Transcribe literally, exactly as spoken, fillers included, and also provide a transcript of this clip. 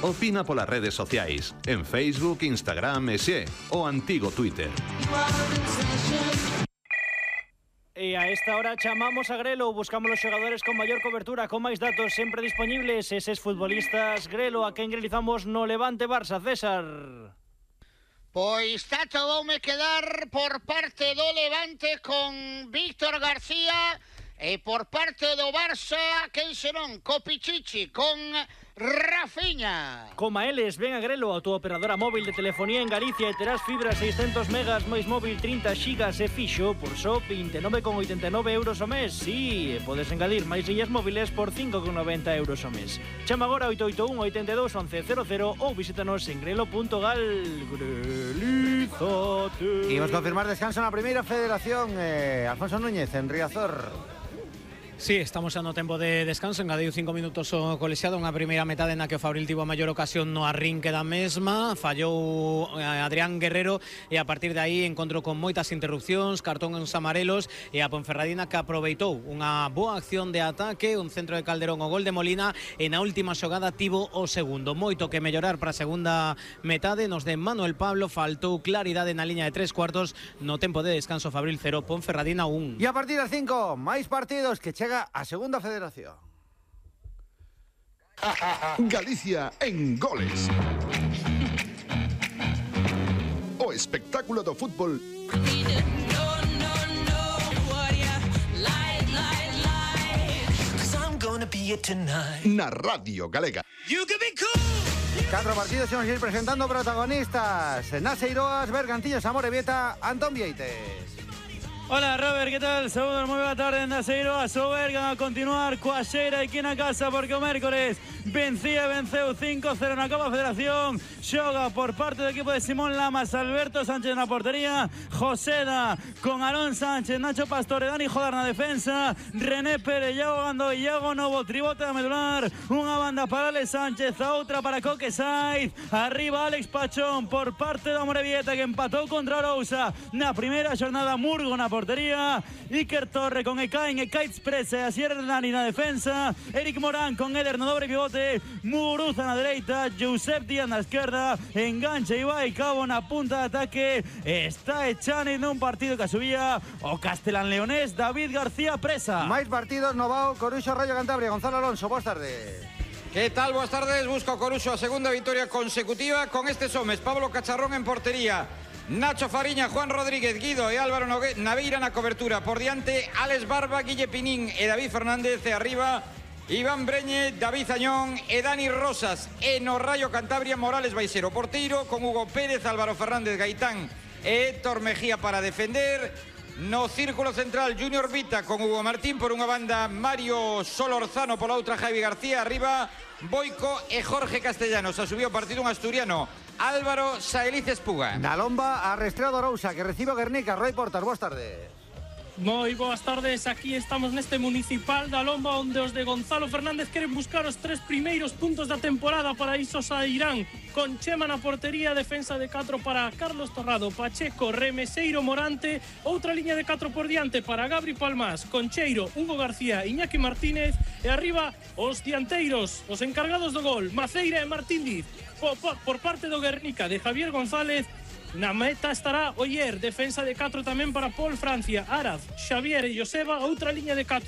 Opina polas redes sociais, en Facebook, Instagram e xe, o antigo Twitter. E a esta hora chamamos a Grelo, buscamos os xogadores con maior cobertura, con máis datos sempre disponibles, eses futbolistas. Grelo, a quen grilizamos no Levante Barça, César? Pois tato voume quedar por parte do Levante con Víctor García e por parte do Barça, quen serón? Co Pichichi, con Rafinha. Coma eles, ven a Grelo, a túa operadora móvil de telefonía en Galicia e terás fibra seiscentos megas máis móvil trinta xigas e fixo por só vinte e nove con oitenta e nove euros ao mes. Si, sí, podes engadir máis illas móviles por cinco con noventa euros ao mes. Chama agora oito oito un, oito dos, once cero cero ou visítanos en grelo punto gal. Grelizate. Imos confirmar descanso na primeira federación. eh, Alfonso Núñez, en Riazor. Sí, estamos xa no tempo de descanso. Engadiu cinco minutos o colexiado. Unha primeira metade na que o Fabril tivo a maior ocasión no arrinque da mesma. Fallou Adrián Guerrero e a partir de aí encontro con moitas interrupcións, cartón en os amarelos, e a Ponferradina que aproveitou unha boa acción de ataque, un centro de Calderón, o gol de Molina, e na última xogada tivo o segundo. Moito que mellorar para a segunda metade. Nos de Manuel Pablo faltou claridade na liña de tres cuartos. No tempo de descanso, Fabril cero, Ponferradina un. E a partir das cinco, máis partidos que chega a segunda federación. Galicia en goles. O espectáculo do fútbol na Radio Galega. Catro partidos imos ir presentando protagonistas. Naseiroas, Bergantiños, Amorebieta, Antón Vieites. Hola Robert, ¿qué tal? Saúdos, moi boa tarde en Naseiro, a Soberga a continuar coa xeira aquí na casa porque o mércores vencía, venceu cinco cero na Copa Federación. Xoga por parte do equipo de Simón Lamas, Alberto Sánchez na portería, Joseda con Arón Sánchez, Nacho Pastor e Dani Jodar na defensa, René Pérez, Iago Gando e Iago Novo, tribote a medular, unha banda para Alex Sánchez, a outra para Coque Saiz, arriba Alex Pachón por parte do Amorebieta que empatou contra Arousa na primeira xornada, Murgo na portería, Iker Torre con Ekain, Ekain Express e Asier Hernani na defensa, Eric Morán con Eder no dobre pivote, Muruza na dereita, Josep Díaz na esquerda, enganche Ibai Cabo na punta de ataque, está echando nun partido que subía o Castelán Leonés, David García Presa. Máis partidos, Novao, Coruxo, Rayo Cantabria, Gonzalo Alonso, boas tardes. ¿Qué tal? Buenas tardes, busca Coruxo a segunda victoria consecutiva con estes homes, Pablo Cacharrón en portería, Nacho Fariña, Juan Rodríguez, Guido e Álvaro Naveira na cobertura. Por diante, Alex Barba, Guille Pinín e David Fernández. E arriba, Iván Breñe, David Añón e Dani Rosas. E no Rayo Cantabria, Morales Baixero. Porteiro con Hugo Pérez, Álvaro Fernández, Gaitán e Héctor Mejía para defender. No círculo central, Junior Vita con Hugo Martín. Por unha banda, Mario Solorzano. Por la outra, Javi García. Arriba, Boico e Jorge Castellanos. A subido partido un asturiano, Álvaro Saeliz Espuga. Na lomba, arrestrado Rousa, que recibe o Guernica. Roy Portas, boas tardes. Moi boas tardes, aquí estamos neste municipal da Lomba onde os de Gonzalo Fernández queren buscar os tres primeiros puntos da temporada. Para iso sairán con Chema na portería, defensa de catro para Carlos Torrado, Pacheco, Remeseiro, Morante, outra liña de catro por diante para Gabri Palmás, Concheiro, Hugo García, Iñaki Martínez e arriba os dianteiros, os encargados do gol, Maceira e Martín Diz. Por, por parte do Guernica de Javier González. Na meta estará Oyer, defensa de catro tamén para Paul Francia, Araz, Xavier e Joseba, outra liña de catro